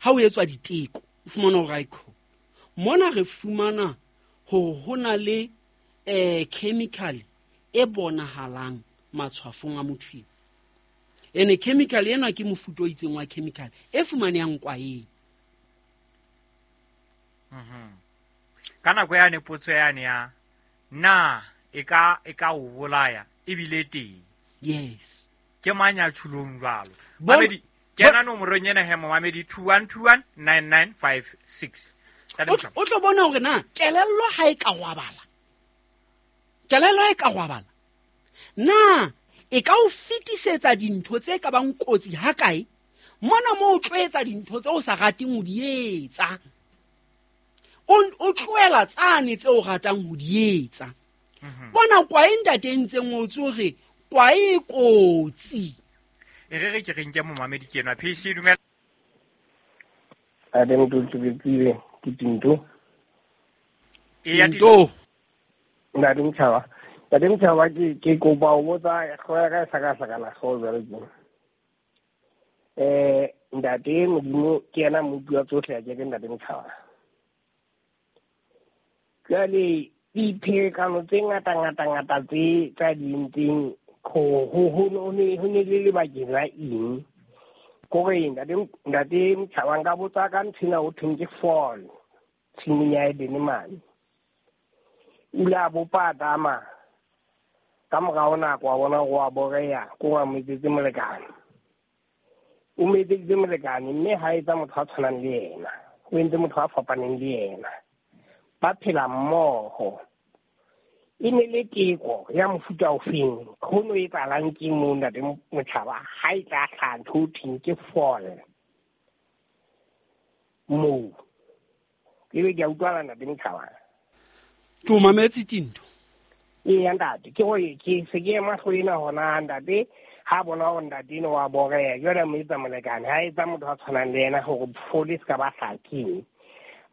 Ha o etswa diteko, o fumana hore aikho mona re fumana hore ho na le chemical e bonahalang matshwafong a motho eo. Ene chemical ena ke mofuta o itseng wa chemical e fumanehang kwaeng. Ka nako yane potso yane ya na e ka o bolaya ebile teng. Yes. Ke mang ya tjhulong jwalo? Mamedi, kena nomorong ena he momamedi 21219956. O tlo bona hore na kelello ha e ka gwabala. Kelello ha e ka gwabala. Na e ka o fetisetsa dintho tse ka bang kotsi ha kae? Mona mo o tlo etsa dintho tse o sa rateng ho di etsa. O tlohela tsane tse o ratang ho di etsa. Bona kwae ntate e ntseng o tsore kwae e kotsi. E re ke re nke momamedi ke enwa. PC dumela. Ade motho ke Tinto. E ya Tinto. Ntate Motjhaba. Ntate Motjhaba ke kopa ho botsa hlooho ya ka e hlakahlakana hlooho jwale tjena. Ntate Modimo ke yena mmopi wa tsohle, a ke ke Ntate Motjhaba. Jwale dipherekano tse ngata ngata ngata tse tsa di entseng ho ne le lebakeng la eng? Kore Ntate Motjhaba nka botsa ka nthwena ho thweng ke fall tshimong ya Edene mane. O ile a bopa Adama ka morao nako a bona hore wa boreya, ko wa mo etsetse molekane. O mo etseditse molekane mme ha etsa motho a tshwanang le yena, o entse motho a fapaneng le yena. Ba phela mmoho. E ne le teko ya mofuta ofeng? Ho no etsahalang ke moo Ntate Motjhaba ha e tla hlaha ntho ho thweng ke fall moo? Ebe ke a utlwala Ntate Motjhaba. Ke o mametse Tinto. Eya ntate, ke hore ke se ke ema hlooho ena hona ntate, ha bona hore ntate eno wa boreya, jwale a mo etsa molekane, ha etsa motho a tshwanang le yena hore fole se ka ba hlakeng,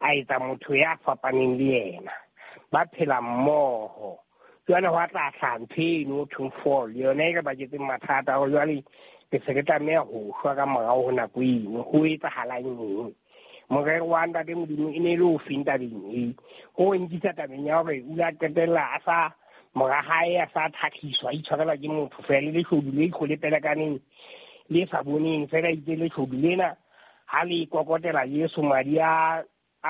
a etsa motho ya fapaneng le yena, ba phela mmoho. Jwale hwa tla hlaha ntho eno ho thweng fall, yona e re baketseng mathata hore jwale ke se re tlameha ho shwa ka morao ho nako eno. Ho etsahalang eng? Morero wa Ntate Modimo e ne e le ofeng tabeng e? Ho nkisa tabeng ya hore o ile a qetella a sa mora hae a sa thakgiswa, a itshwarelwa ke motho fela, le leshodu le itlhole pelekaneng le sa boneng fela, itse leshodu lena ha le kokotela Jesu madi a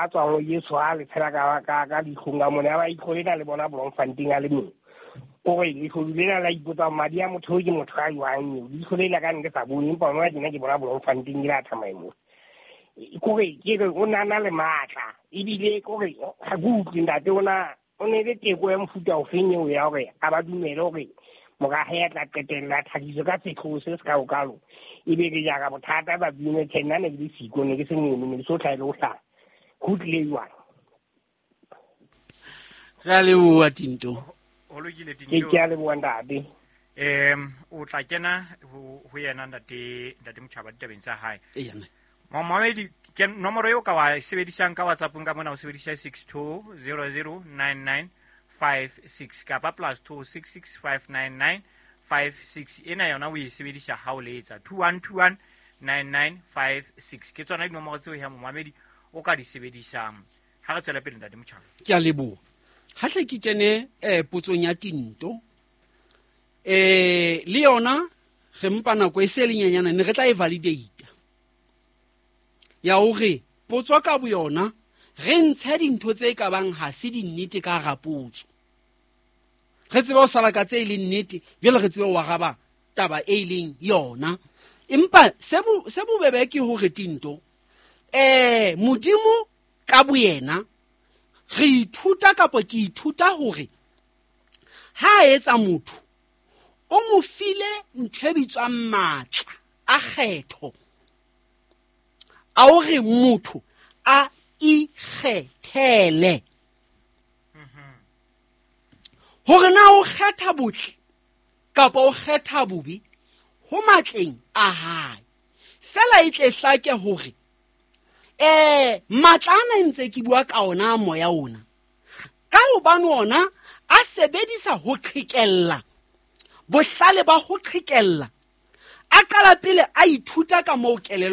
tswang ho Jesu a le tshela ka leihlong ka mona, ba itlhole na le bona Bloemfontein a le mong. Kore leshodu lena la ipotsa madi a motho ke motho a jwang eo, leihlo le la ka ne ke sa bone, empa hona tjena ke bona Bloemfontein ke la tsamaya moo. Kore ke re o na le matla, ebile kore ha ke utlwe ntate o na o ne le teko ya mofuta ofeng eo ya hore a ba dumele hore mora hae a tla qetella a thabiswe ka setlhogo se se kaokalo, ebe re jara bothata ba bine. Tjhe, nna ne ke le siko, ne ke se mono, ne ke so hlahe le ho hlaha. Ho tlile jwang? Re a leboha Tinto. Ho lokile Tinto. Ke a leboha ntate. O tla kena ho yena ntate Motjhaba ditabeng tsa hae. Eya, mme. Momamedi, ke nomoro eo ka wa sebedisang ka WhatsApp-ong ka mona, o sebedisa 62009956 kapa +26659956. Ena yona o e sebedisa ha o letsa 21219956. Ke tsona dinomoro tseo ya momamedi o ka di sebedisang. Ha re tswele pele Ntate Motjhaba. Ke a leboha. Ha hle ke kene potsong ya Tinto. Le yona re mpa nako e se le nyenyane, ne re tla e validate. Ya hore potso ka boyona re ntshe dintho tse ka bang ha se dinnete ka hara potso. Re tsebe ho sala ka tse e leng nnete, jwale re tsebe ho araba taba e leng yona. Empa se bobebe ke hore Tinto, Modimo ka boyena re ithuta kapa ke ithuta hore ha a etsa motho o mo file ntho e bitswang matla a kgetho, a hore motho a ikgethele hore na o kgetha botle kapa o kgetha bobe ho matleng a hae. Fela e tle hlake hore matla ana ntse ke bua ka ona moya ona, ka hobane ona a sebedisa ho qhekella, bohlale ba ho qhekella, a qala pele a ithuta ka moo kelello